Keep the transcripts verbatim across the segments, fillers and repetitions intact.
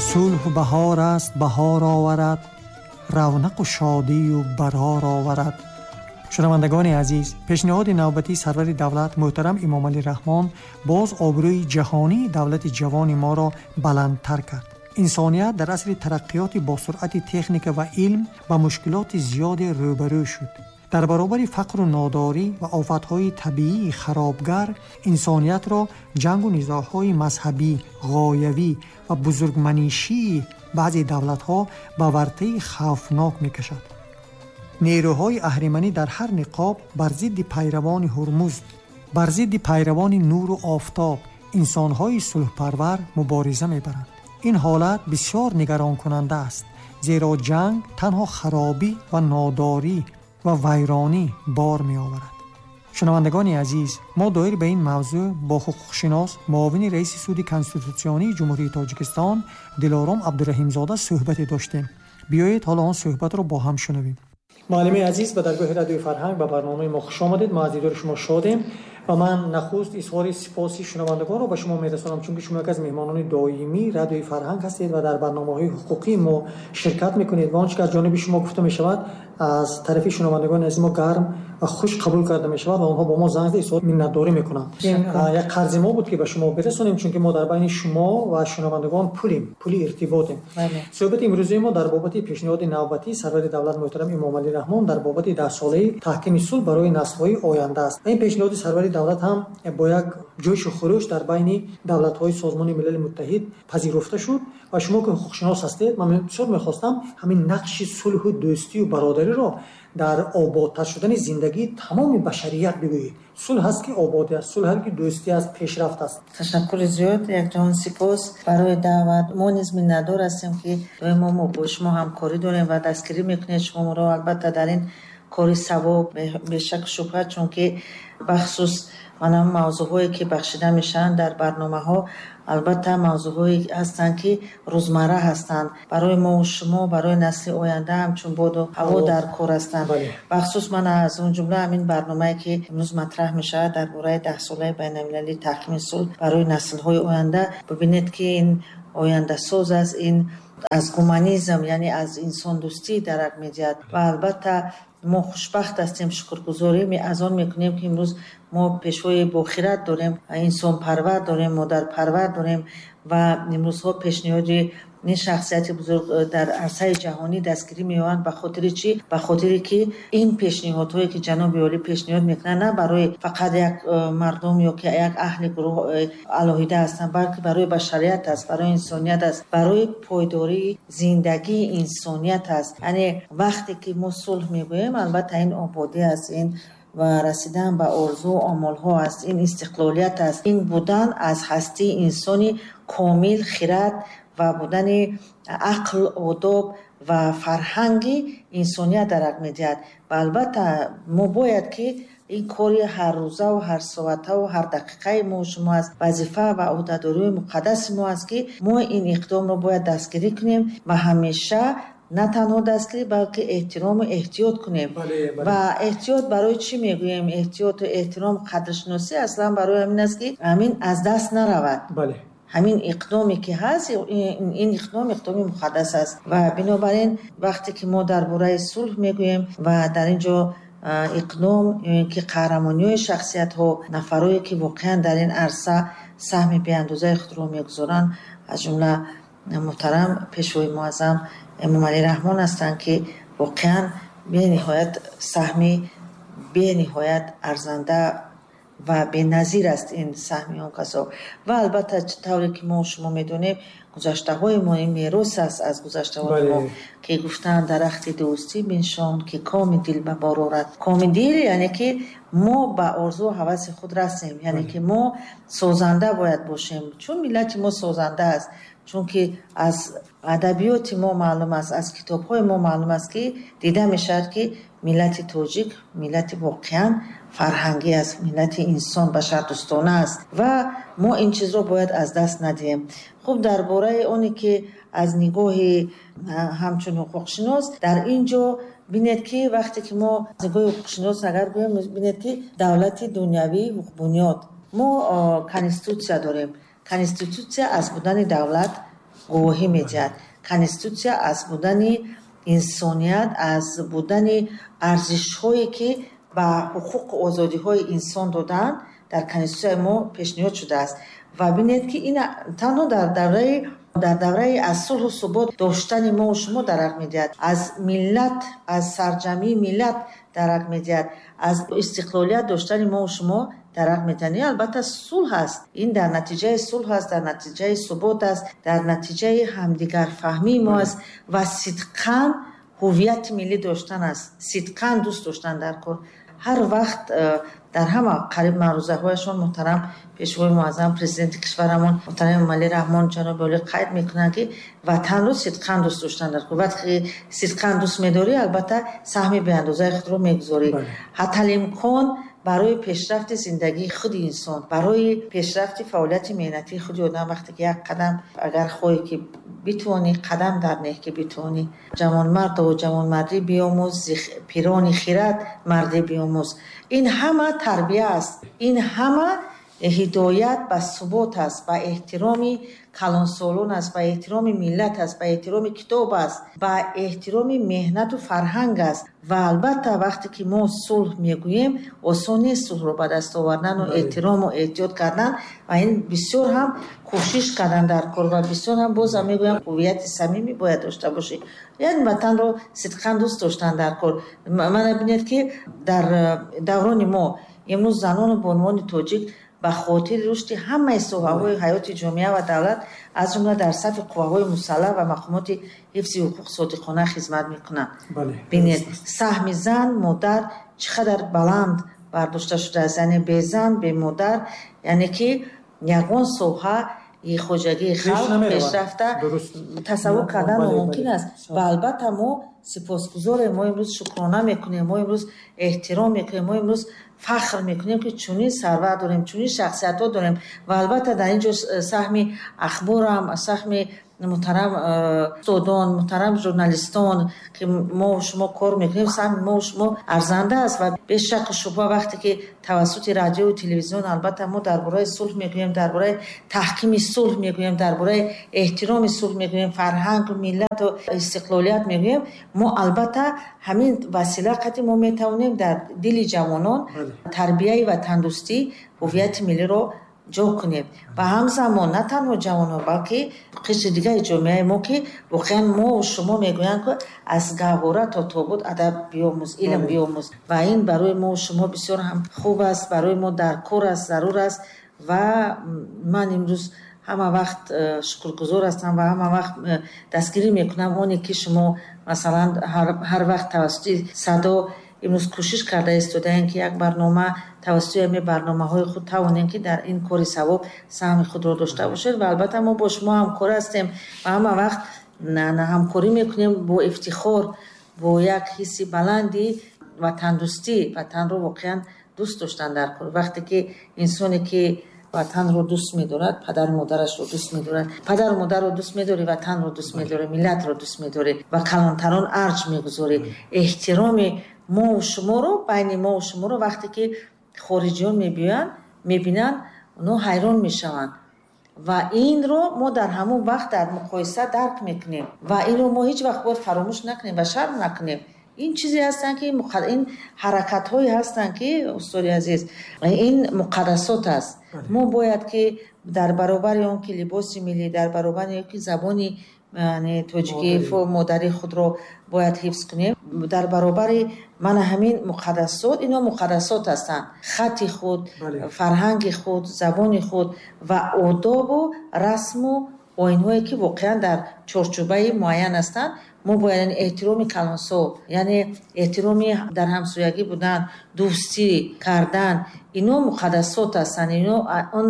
Сулҳ баҳор аст, баҳор оварад, равнақу шодию барор оварад. Шунавандагони азиз, пешниҳоди навбатии сарвари давлат муҳтарам Эмомалӣ Раҳмон боз обрӯи ҷаҳонии давлати ҷавони моро баландтар кард. Инсоният дар асри тараққиёти босуръати техника ва илм ба мушкилоти зиёде рӯбарӯ шуд. Дар баробари фақру нодорӣ ва офатҳои табиии харобгар, инсониятро ҷангу низоъҳои мазҳабӣ, ғоявӣ ва бузургманишии баъзе давлатҳо ба вартаи хавфнок мекашад. Нерӯҳои аҳриманӣ дар ҳар ниқоб бар зидди пайравони Ҳурмузд, бар зидди пайравони нуру офтоб, инсонҳои сулҳпарвар мубориза мебаранд. Ин ҳолат бисёр нигаронкунанда аст, зеро ҷанг танҳо харобӣ ва нодорӣ ва вайронӣ бор меоварад. Шунавандагони азиз, мо доир ба ин мавзӯъ бо ҳуқуқшинос, муовини раиси суди конститутсионии Ҷумҳурии Тоҷикистон Дилором Абдураҳимзода суҳбате доштем. Биёед ҳоло он суҳбатро бо ҳам шунавем. Муаллимаи азиз, ба даргоҳи радиои фарҳанг ба барномаи мо хуш омадед. Мо аз дидори шумо шодем ва ман нахуст изҳори сипоси шунавандагонро ба шумо мерасонам, чунки шумо яке аз меҳмонони доимии радиои фарҳанг ҳастед ва дар барномаҳои ҳуқуқии мо ширкат мекунед ва он чӣ ки аз ҷониби шумо гуфта мешавад аз тарафи шунавандагони азизи мо гарм ва хуш қабул карда мешавад ва онҳо бо мо занг зада изҳори миннатдорӣ мекунанд. Ин як қарзи мо буд ки ба шумо бирасонем, чунки мо дар байни шумо ва шунавандагон пулем, пули иртиботем. Суҳбати имрӯзаи мо дар бобати пешниҳоди навбатии сарвари давлат муҳтарам Эмомалӣ Раҳмон дар бобати даҳсолаи таҳкими сулҳ барои наслҳои оянда аст. Ин пешниҳоди сарвари давлат ҳам бо як ҷӯшу хурӯш дар байни давлатҳои Созмони Милали Муттаҳид пазируфта шуд ва шумо ки ҳуқуқшинос ҳастед, ман бисёр мехостам ҳамин нақши сулҳу дӯстию бародариро дар ободтар шудани зиндагии тамоми башарият бигӯед. Сулҳ ҳаст ки ободӣ аст, сулҳ ҳаст ки дӯстӣ аст, пешрафт аст. Ташаккури зиёд, якҷаҳон сипос барои даъват. Мо низ миннатдор ҳастем ки доимо мо бо шумо ҳамкорӣ дорем ва дастгирӣ мекунед шумо моро албатта дар ин кори савоб, бешак шубҳа, чунки бахусус манам мавзӯъҳое ки бахшида мешаванд дар барномаҳо, албатта мавзӯъҳое ҳастанд ки рӯзмарра ҳастанд барои мо ва шумо, барои насли оянда ҳамчун боду ҳаво дар кор ҳастанд. Бахусус ман аз он ҷумла ҳамин барномае ки имрӯз матраҳ мешавад дар бораи даҳсолаи байналмилалии таҳкими сулҳ барои наслҳои оянда, бибинед ки ин ояндасоз аст, ин аз гуманизм, яъне аз инсондӯстӣ дарак медиҳад ва албатта мо хушбахт ҳастем, шукргузорӣ аз он мекунем ки имрӯз мо пешвои бохират дорем, инсонпарвар дорем, модарпарвар дорем ва имрӯзҳо пешниҳоди ин шахсияти бузург дар арсаи ҷаҳонӣ дастгирӣ меёбанд. Ба хотири чӣ? Ба хотире ки ин пешниҳодҳое ки ҷаноби олӣ пешниҳод мекунанд на барои фақат як мардум ё ки як аҳли гурӯҳ алоҳида ҳастанд, балки барои башарият аст, барои инсоният аст, барои пойдории зиндагии инсоният аст. Яъне вақте ки мо сулҳ мегӯем, албатта ин ободӣ аст, ин ва расидан ба орзу омолҳо аст, ин истиқлолият аст, ин будан аз ҳастии инсони комил, хирад ва будани ақл, одоб ва фарҳанги инсоният дарак медиҳад. Ва албатта мо бояд ки ин кори ҳаррӯзаву ҳарсоатаву ҳар дақиқаи мо шумо аст, вазифа ва ӯҳдадориҳои муқаддаси мо аст ки мо ин иқдомро бояд дастгирӣ кунем ва ҳамеша на танҳо дастгирӣ, балки эҳтирому эҳтиёт кунем. Ва эҳтиёт барои чӣ мегӯем? Эҳтиёту эҳтиром, қадршиносӣ аслан барои ҳамин аст ки ҳамин аз даст наравад. Ҳамин иқдоме ки ҳаст, ин иқдом иқдоми муқаддас аст ва бинобар ин вақте ки мо дар бораи сулҳ мегӯем ва дар ин ҷо иқдом ё ин ки қаҳрамониҳои шахсиятҳо, нафарое ки воқеан дар ин арса саҳми беандозаи худро мегузоранд, аз ҷумла муҳтарам пешвои муаззам Эмомалӣ Раҳмон ҳастанд ки воқеан бениҳоят саҳми бениҳоят арзанда ва беназир аст ин саҳми он касо. Ва албатта тавре ки мо шумо медонем, гузаштаҳои мо ин мерос аст аз гузаштаҳои мо ки гуфтанд дарахти дӯстӣ биншон ки коми дил ба бор орад. Коми дил яъне ки мо ба орзу ҳаваси худ расем, яъне ки мо созанда бояд бошем, чун миллати мо созанда аст, чунки аз адабиёти мо маълум аст, аз китобҳои мо маълум аст ки дида мешавад ки миллати тоҷик миллати воқеан фарҳангӣ аст, миллати инсон башардӯстона аст ва мо ин чизро бояд аз даст надиҳем. Хуб, дар бораи оне ки аз нигоҳи ҳамчун ҳуқуқшинос дар ин ҷо бинед ки вақте ки мо аз нигоҳи ҳуқуқшинос агар гӯем, бинед ки давлати дунявии ҳуқуқбунёд, мо конститутсия дорем. Конститутсия аз будани давлат гувоҳӣ медиҳад. Конститутсия аз будани инсоният, аз будани арзишҳое ки ба ҳуқуқу озодиҳои инсон додаанд, дар конститутсияи мо пешниҳод шудааст. Ва бинед ки ин танҳо дар давраи дар давраи аз сулҳу субот доштани мо шумо дарак медиҳад, аз миллат, аз сарҷамъии миллат дарак медиҳад, аз истиқлолият доштани мо шумо дарак медиҳад. Ин албатта сулҳ аст. Ин дар натиҷаи сулҳ аст, дар натиҷаи субот аст, дар натиҷаи ҳамдигарфаҳмии мо аст ва сидқан ҳувияти миллӣ доштан аст, сидқан дӯст доштан дар кор. Ҳар вақт дар ҳама қариб маърузаҳояшон муҳтарам пешвои муаззам президенти кишварамон муҳтарам Эмомалӣ Раҳмон ҷаноби олӣ қайд мекунанд, ки ватанро сидқан дӯст доштан дар кор. Вақте сидқан дӯст медорӣ, албатта саҳми беандозаи худро мегузорӣ. Ҳатталимкон барои пешрафти зиндагии худи инсон, барои пешрафти фаъолияти меҳнатии худи одам, вақте ки як қадам агар хоҳӣ ки битавонӣ, қадам дар неҳ ки битавонӣ. Ҷавонмарду ҷавонмардӣ биомӯз, пирони хирад мардӣ биомӯз. Ин ҳама тарбия аст, ин ҳама ҳидоят ба субот аст, ба эҳтироми калонсолон аст, ба эҳтироми миллат аст, ба эҳтироми китоб аст, ба эҳтироми меҳнату фарҳанг аст. Ва албатта вақте ки мо сулҳ мегӯем, осон нест сулҳро ба даст овардан ва эҳтирому эҳтиёт кардан, ва ин бисёр ҳам кӯшиш кардан дар кор ва бисёр ҳам боз ҳам мегӯям ҳувияти самимӣ бояд дошта бошӣ, яъне ватанро сидқан дӯст доштан дар кор. Мана бинед ки дар даврони мо имрӯз занону бонувони тоҷик ба хотири рушди ҳамаи соҳаҳои ҳаёти ҷомеа ва давлат, аз ҷумла дар сафи қувваҳои мусаллаҳ ва мақомоти ҳифзи ҳуқуқ содиқона хизмат мекунанд. Бинед, саҳми зан, модар чӣ қадар баланд бардошта шудааст, яъне бе зан, бе модар, яъне ки ягон соҳа хоҷагии халқ пешрафта тасаввур кардан номумкин аст. Ва албатта мо сипосгузорем, мо имрӯз шукрона мекунем, мо имрӯз эҳтиром мекунем, мо имрӯз фахр мекунем, ки чунин сарвар дорем, чунин шахсиятҳо дорем. Ва албатта дар ин ҷо саҳми ахборам, саҳми муҳтарам устодон, муҳтарам журналистон, ки мо шумо кор мекунем, саҳми мо шумо арзанда аст. Ва бе шакку шубҳа вақте ки тавассути радио ва телевизион албатта мо дар бораи сулҳ мегӯем, дар бораи таҳкими сулҳ мегӯем, дар бораи эҳтироми сулҳ мегӯем, фарҳанг, миллату истиқлолият мегӯем, мо албатта ҳамин васила қати мо метавонем дар дили ҷавонон тарбияи ватандӯстӣ, ҳувияти миллиро ҷо кунем. Ва ҳамзамон на танҳо ҷавонон, балки қишри дигари ҷомеаи мо, ки воқеан мо шумо мегӯянд, ки аз гаҳвора то тобут адаб биомӯз, илм биомӯз. Ва ин барои мо шумо бисёр ҳам хуб аст, барои мо даркор аст, зарур аст. Ва ман имрӯз ҳама вақт шукргузор ҳастам ва ҳама вақт дастгирӣ мекунам оне ки шумо масалан ҳар вақт тавассути садо имрӯз кӯшиш карда истодаем, ки як барнома тавассути ҳамин барномаҳои худ тавонем, ки дар ин кори савоб саҳми худро дошта бошед. Ва албатта мо бо шумо ҳамкор ҳастем ва ҳама вақт ҳамкорӣ мекунем бо ифтихор, бо як ҳисси баланди ватандӯстӣ, ватанро воқеан дӯст доштан дар кор. Вақте ки инсоне ки ватанро дӯст медорад, падару модарашро дӯст медорад, падару модарро дӯст медорӣ, ватанро дӯст медорӣ, миллатро дӯст медорӣ ва калонтарон арҷ мегузорӣ. Эҳтироми мо шуморо, байни мо шуморо вақте ки хориҷиён мебиёянд, мебинанд, онҳо ҳайрон мешаванд. Ва инро мо дар ҳамон вақт дар муқоиса дарк мекунем ва инро мо ҳеҷ вақт бояд фаромӯш накунем ва шарм накунем. Ин чизе ҳастанд, ки ин ҳаракатҳое ҳастанд, ки устоди азиз, ин муқаддасот аст. Мо бояд ки дар баробари он ки либоси миллӣ, дар баробари он ки забони тоҷикӣ модари худро бояд ҳифз кунем, дар баробари мана ҳамин муқаддасот, инҳо муқаддасот ҳастанд, хати худ, фарҳанги худ, забони худ ва одобу расму оинҳое ки воқеан дар чорчӯбаи муайян ҳастанд. Мо бояд эҳтироми калонсол, яъне эҳтироми дар ҳамсоягӣ будан, дӯстӣ кардан, ино муқаддасот ҳастанд. Ино он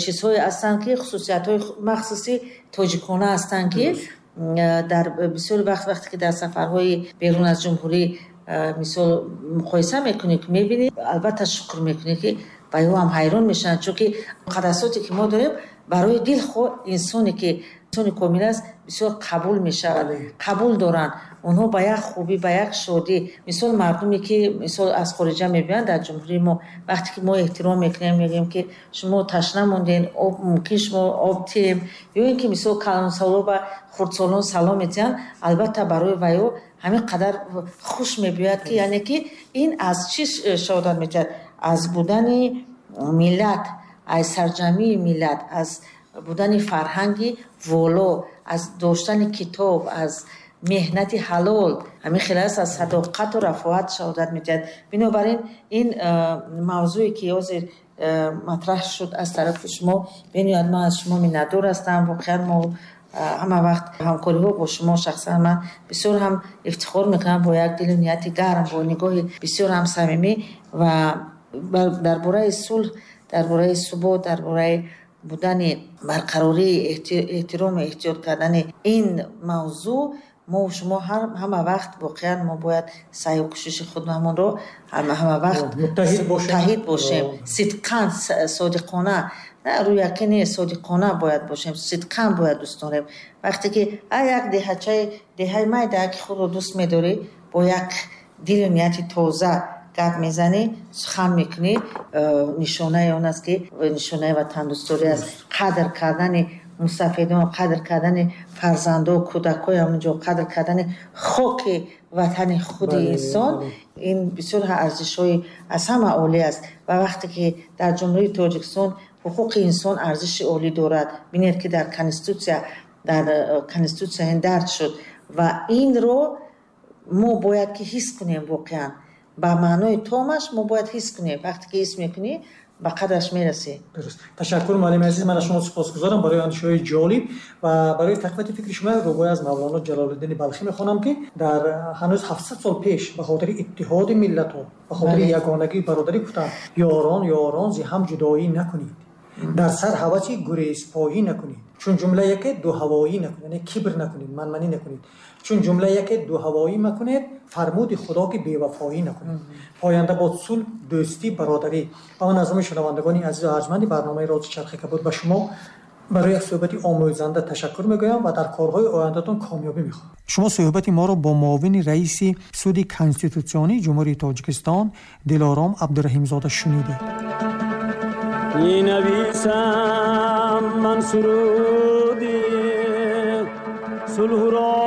чизҳое ҳастанд, ки хусусиятҳои махсуси тоҷикона ҳастанд, ки дар бисёр вақт вақте ки дар сафарҳои берун аз ҷумҳурӣ мисол муқоиса мекунӣ, ки мебинӣ, албатта шукр мекунӣ, ки ба ё ҳам ҳайрон мешаванд, чунки муқаддасоте ки мо дорем барои дилхоҳ инсоне ки Инсони комил аст, бисёр қабул мешавад, қабул доранд онҳо ба як хубӣ, ба як шодӣ. Мисол, мардуме ки мисол аз хориҷа мебиёянд дар ҷумҳурии мо, вақте ки мо эҳтиром мекунем, мегӯем ки шумо ташна монден, об мумкин шумо об тием, ё ин ки мисол калонсоло ба хурдсолон салом медиҳанд, албатта барои вайо ҳамин қадар хуш мебиёяд, ки яъне ки ин аз чӣ шаҳодат медиҳад? Аз будани миллат, аз сарҷамъии миллат, аз будани фарҳанги воло, аз доштани китоб, аз меҳнати ҳалол, ҳамин хел аст, аз садоқату рафоат шаҳодат медиҳад. Бинобар ин ин мавзӯе ки ҳозир матраҳ шуд аз тарафи шумо, бениҳоят ман аз шумо миннатдор ҳастам. Воқеан мо ҳама вақт ҳамкориҳо бо шумо, шахсан ман бисёр ҳам ифтихор мекунам бо як дилу нияти гарм, бо нигоҳи бисёр ҳам самимӣ ва дар бораи сулҳ, дар бораи субот, дар бораи будани барқарории эҳтирому эҳтиёт кардани ин мавзӯъ мо шумо ҳама вақт воқеан мо бояд саъю кӯшиши худамонро ҳама вақт муттаҳид бошем, сидқан, содиқона, рӯяки не, содиқона бояд бошем, сидқан бояд дӯст дорем. Вақте ки як деҳачаи деҳаи майда ки худро дӯст медорӣ, бо як дилу нияти тоза гап мезанӣ, сухан мекунӣ, нишонаи он аст ки нишонаи ватандӯстдорӣ аст. Қадр кардани мустафидон, қадр кардани фарзандо, кӯдакҳои ҳамонҷо, қадр кардани хоки ватани худи инсон, ин бисёр арзишҳои аз ҳама олӣ аст. Ва вақте ки дар Ҷумҳурии Тоҷикистон ҳуқуқи инсон арзиши олӣ дорад, бинед ки дар конститутсия, дар конститутсия ин дарҷ шуд ва инро мо бояд ки ҳис кунем, воқеан ба маънои томаш мо бояд ҳис кунем. Вақте ки ҳис мекунӣ, ба қадраш мерасӣ. Дуруст. Ташаккур, муаллими азиз, ман аз шумо сипосгузорам барои андешаҳои ҷолиб ва барои тақвияти фикри шумо. Рубоӣ аз Мавлоно Ҷалолиддини Балхӣ мехонам, ки дар ҳанӯз ҳафтсад сол пеш ба хотири иттиҳоди миллатҳо, ба хотири ягонагӣ, бародарӣ гуфтанд: ёрон, ёрон, зи ҳам ҷудоӣ накунед, дар сар ҳаваси гурезпоӣ накунед, чун ҷумла яке дуҳавоӣ накунед, яъне кибр накунед, манманӣ накунед, чун ҷумла яке дуҳавоӣ макунед, фармуди худо ки бевафоӣ накунед. Поянда бод сулҳ, дӯстӣ, бародарӣ. Ва ман аз номи шунавандагони азизу арҷманди барномаи Рози Чархи Кабуд ба шумо барои як суҳбати омӯзанда ташаккур мегӯям ва дар корҳои ояндатон комёбӣ мехоҳам. Шумо суҳбати моро бо муовини раиси суди конститутсионии Ҷумҳурии Тоҷикистон Дилором Абдураҳимзода шунидед. Менависам ман суруди сулҳро.